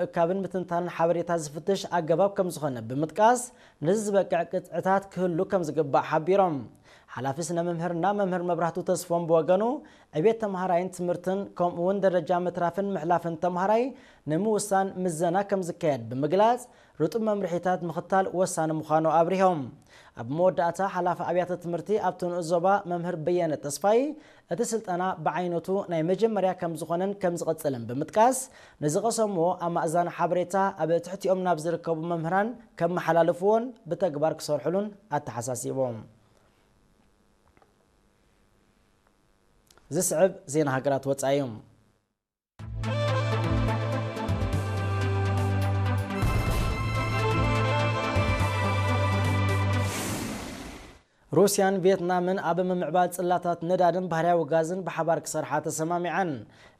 ምእካብን ምትንታንን ሓበሬታ ዝፍትሽ ኣገባብ ከም ዝኾነ ብምጥቃስ፣ ነዚ ዝበቅዕ ቅጥዕታት ክህሉ ከም ዝግባእ ሓቢሮም። ሓላፊ ስነ መምህርና መምህር መብራህቱ ተስፎም ብወገኑ፣ ዕቤት ተምሃራይን ትምህርትን ከምኡ እውን ደረጃ ምትራፍን ምሕላፍን ተምሃራይ ንምውሳን ምዘና ከም ዝካየድ ብምግላጽ፣ ርጡብ መምርሒታት ምኽታል ወሳኒ ምዃኑ ኣብሪሆም። ኣብ መወዳእታ ሓላፊ ኣብያተ ትምህርቲ ኣብቲ ንኡስ ዞባ መምህር በየነ ተስፋይ፣ እቲ ስልጠና ብዓይነቱ ናይ መጀመርያ ከም ዝኾነን ከም ዝቕጽልን ብምጥቃስ፣ ንዝቐሰምዎ ኣማእዛኒ ሓበሬታ ኣብ ትሕቲኦም ናብ ዝርከቡ መምህራን ከመሓላልፍዎን ብተግባር ክሰርሕሉን ኣተሓሳሲቦም። ዝስዕብ ዜና ሃገራት ወጻኢ እዩ። ሩስያን ቪየትናምን ኣብ ምምዕባል ጽላታት ነዳድን ባህርያዊ ጋዝን ብሓባር ክሰርሓ ተሰማሚዐን።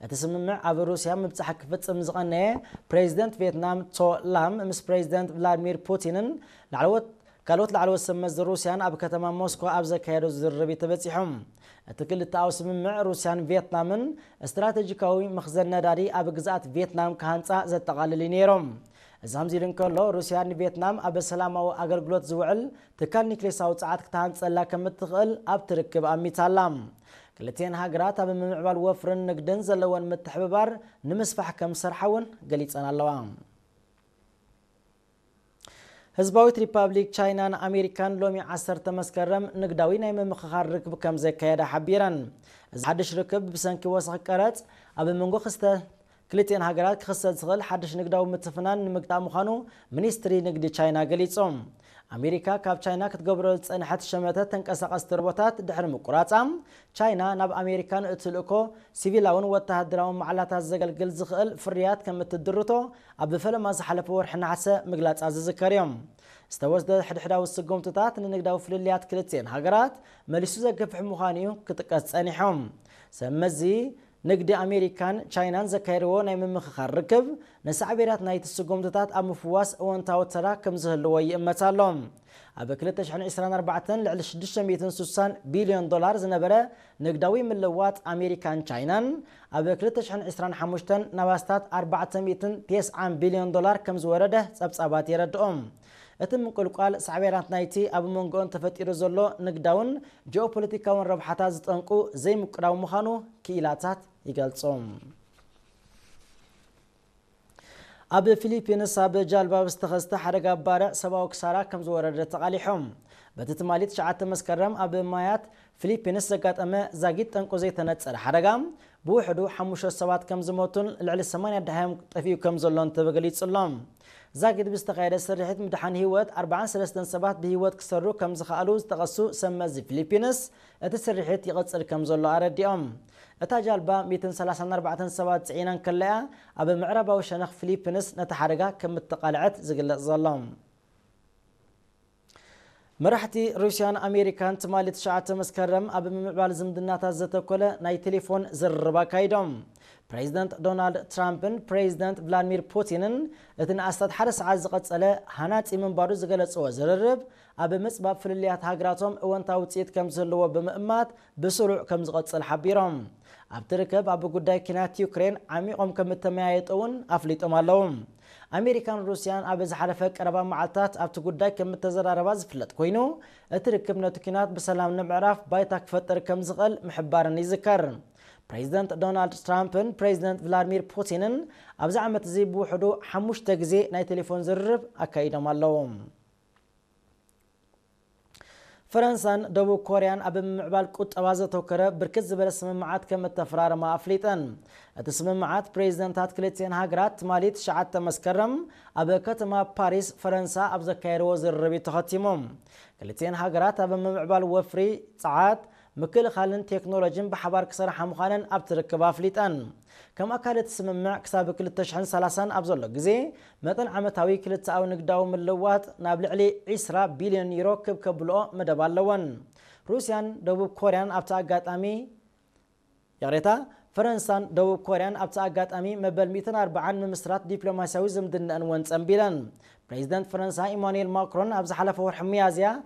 እቲ ስምምዕ ኣብ ሩስያ ምብጻሕ ክፍጽም ዝቐነየ ፕሬዚደንት ቪየትናም ቶ ላም ምስ ፕሬዚደንት ቭላድሚር ፑቲንን ላዕለዎት ካልኦት ላዕለዎት ሰብ መዚ ሩስያን ኣብ ከተማ ሞስኮ ኣብ ዘካየዶ ዝርርብ እዩ ተበጺሖም። እቲ ክልተኣዊ ስምምዕ ሩስያን ቪየትናምን ስትራቴጂካዊ መኽዘን ነዳዲ ኣብ ግዝኣት ቪየትናም ክሃንጻ ዘጠቓልል እዩ ነይሮም። እዚ ከምዚ ኢሉ እንከሎ፣ ሩስያ ንቪየትናም ኣብ ሰላማዊ ኣገልግሎት ዝውዕል ትካል ኒክሌሳዊ ጸዓት ክትሃንጸላ ከም እትኽእል ኣብቲ ርክብ ኣሚታ ኣላ። ክልቲኤን ሃገራት ኣብ ምምዕባል ወፍርን ንግድን ዘለወን ምትሕብባር ንምስፋሕ ከም ዝሰርሓ እውን ገሊጸን ኣለዋ። ህዝባዊት ሪፓብሊክ ቻይናን ኣሜሪካን ሎሚ ዓሰርተ መስከረም ንግዳዊ ናይ ምምኽኻር ርክብ ከም ዘካየዳ ሓቢረን። እዚ ሓድሽ ርክብ ብሰንኪ ወሰኽ ቀረጽ ኣብ መንጎ ክስተ ክልቲኤን ሃገራት ክኽሰት ዝኽእል ሓድሽ ንግዳዊ ምትፍናን ንምግታእ ምዃኑ ሚኒስትሪ ንግዲ ቻይና ገሊጹ። ኣሜሪካ ካብ ቻይና ክትገብሮ ዝጸንሐት ሸመተ ተንቀሳቐስቲ ሮቦታት ድሕሪ ምቁራጻ፣ ቻይና ናብ ኣሜሪካ ንእትልእኮ ሲቪላውን ወተሃደራውን ማዕላታት ዘገልግል ዝኽእል ፍርያት ከም እትድርቶ ኣብ ፈለማ ዝሓለፈ ወርሒ ነሓሰ ምግላጻ ዝዝከር እዩ። ዝተወስደ ሕድሕዳዊ ስጉምትታት ንንግዳዊ ፍልልያት ክልቲኤን ሃገራት መሊሱ ዘገፍሕ ምዃኑ እዩ ክጥቀስ ጸኒሑ። ሰብ መዚ ንግዲ ኣሜሪካን ቻይናን ዘካየድዎ ናይ ምምኽኻር ርክብ ንሳዕቤናት ናይቲ ስጉምትታት ኣብ ምፍዋስ እወንታዊ ተራ ከም ዝህልዎ ይእመት ኣሎ። ኣብ ክልተ ሽሕን ዕስራን ኣርባዕተን ልዕሊ ሽዱሽተ ሚእትን ስሳን ቢልዮን ዶላር ዝነበረ ንግዳዊ ምልውዋጥ ኣሜሪካን ቻይናን፣ ኣብ ክልተ ሽሕን ዕስራን ሓሙሽተን ናብ ኣስታት ኣርባዕተ ሚእትን ተስዓን ቢልዮን ዶላር ከም ዝወረደ ጸብጻባት የረድኦም። እቲ ምንቁልቋል ሳዕቤናት ናይቲ ኣብ መንጎኦን ተፈጢሩ ዘሎ ንግዳውን ጂኦፖለቲካውን ረብሓታት ዝጠንቁ ዘይምቅዳው ምዃኑ ክኢላታት ይገልጹ። ኣብ ፊሊፒንስ ኣብ ጃልባ ዝተኸስተ ሓደጋ ባርዕ ሰብኣዊ ክሳራ ከም ዝወረደ ተቓሊሖም። በቲ ትማሊ ትሽዓተ መስከረም ኣብ ማያት ፊሊፒንስ ዘጋጠመ ዛጊት ጠንቁ ዘይተነጸረ ሓደጋ፣ ብውሕዱ ሓሙሽተ ሰባት ከም ዝሞቱን ልዕሊ ሰማንያ ደሃዮም ጠፊኡ ከም ዘሎን ተገሊጹ ኣሎ። ዛጊት ብዝተኻየደ ስርሒት ምድሓን ህይወት ኣርባዓን ሰለስተን ሰባት ብህይወት ክሰሩ ከም ዝኸኣሉ ዝጠቐሱ ሰብ መዚ ፊሊፒንስ፣ እቲ ስርሒት ይቕጽል ከም ዘሎ ኣረዲኦም። እታ ጃልባ ሚእትን ሰላሳን ኣርባዕተን ሰባት ጽዒና እንከለያ፣ ኣብ ምዕራባዊ ሸነኽ ፊሊፒንስ ነቲ ሓደጋ ከም እተቓልዐት ዝግለጽ ዘሎ። መራሕቲ ሩስያን ኣሜሪካን ትማሊ ትሽዓተ መስከረም ኣብ ምምዕባል ዝምድናታት ዘተኮለ ናይ ቴሌፎን ዝርርብ ኣካይዶም። ፕሬዚደንት ዶናልድ ትራምፕን ፕሬዚደንት ቭላድሚር ፑቲንን እቲ ንኣስታት ሓደ ሰዓት ዝቐጸለ ሃናጺ ምንባሩ ዝገለጽዎ ዝርርብ፣ ኣብ ምጽባብ ፍልልያት ሃገራቶም እወንታዊ ውጽኢት ከም ዝህልዎ ብምእማት ብስሩዕ ከም ዝቐጽል ሓቢሮም። ኣብቲ ርክብ ኣብ ጉዳይ ኲናት ዩክሬን ዓሚቖም ከም እተመያየጡ እውን ኣፍሊጦም ኣለዉ። ኣሜሪካን ሩስያን ኣብ ዝሓለፈ ቀረባ መዓልታት ኣብቲ ጉዳይ ከም እተዘራረባ ዝፍለጥ ኮይኑ፣ እቲ ርክብ ነቲ ኲናት ብሰላም ንምዕራፍ ባይታ ክፈጥር ከም ዝኽእል ምሕባረን ይዝከር። ፕሬዚደንት ዶናልድ ትራምፕን ፕሬዚደንት ቭላድሚር ፑቲንን ኣብዚ ዓመት እዚ ብውሕዱ ሓሙሽተ ግዜ ናይ ቴሌፎን ዝርርብ ኣካይዶም ኣለዉ። ፈረንሳን ደቡብ ኮርያን ኣብ ምምዕባል ቁጠባ ዘተኮረ ብርክት ዝበለ ስምምዓት ከም እተፈራረማ ኣፍሊጠን። እቲ ስምምዓት ፕሬዚደንታት ክልቲኤን ሃገራት ትማሊ ትሽዓተ መስከረም ኣብ ከተማ ፓሪስ ፈረንሳ ኣብ ዘካየድዎ ዝርርብ እዩ ተኸቲሙ። ክልቲኤን ሃገራት ኣብ ምምዕባል ወፍሪ፣ ጸዓት፣ ምክልኻልን ቴክኖሎጂን ብሓባር ክሰርሓ ምዃነን ኣብቲ ርክብ ኣፍሊጠን። ከም ኣካል እቲ ስምምዕ፣ ክሳብ ክልተ ሽሕን ሰላሳን ኣብ ዘሎ ግዜ፣ መጠን ዓመታዊ ክልተኣዊ ንግዳዊ ምልውዋጥ ናብ ልዕሊ ዕስራ ቢልዮን ዩሮ ክብ ከብልኦ መደብ ኣለወን። ሩስያን ደቡብ ኮርያን ኣብቲ ኣጋጣሚ፣ ይቕሬታ፣ ፈረንሳን ደቡብ ኮርያን ኣብቲ ኣጋጣሚ መበል ሚእትን ኣርባዓን ምምስራት ዲፕሎማስያዊ ዝምድነአን እውን ጸንቢለን። ፕሬዚደንት ፈረንሳ ኢማኑኤል ማክሮን ኣብ ዝሓለፈ ወርሒ ሚያዝያ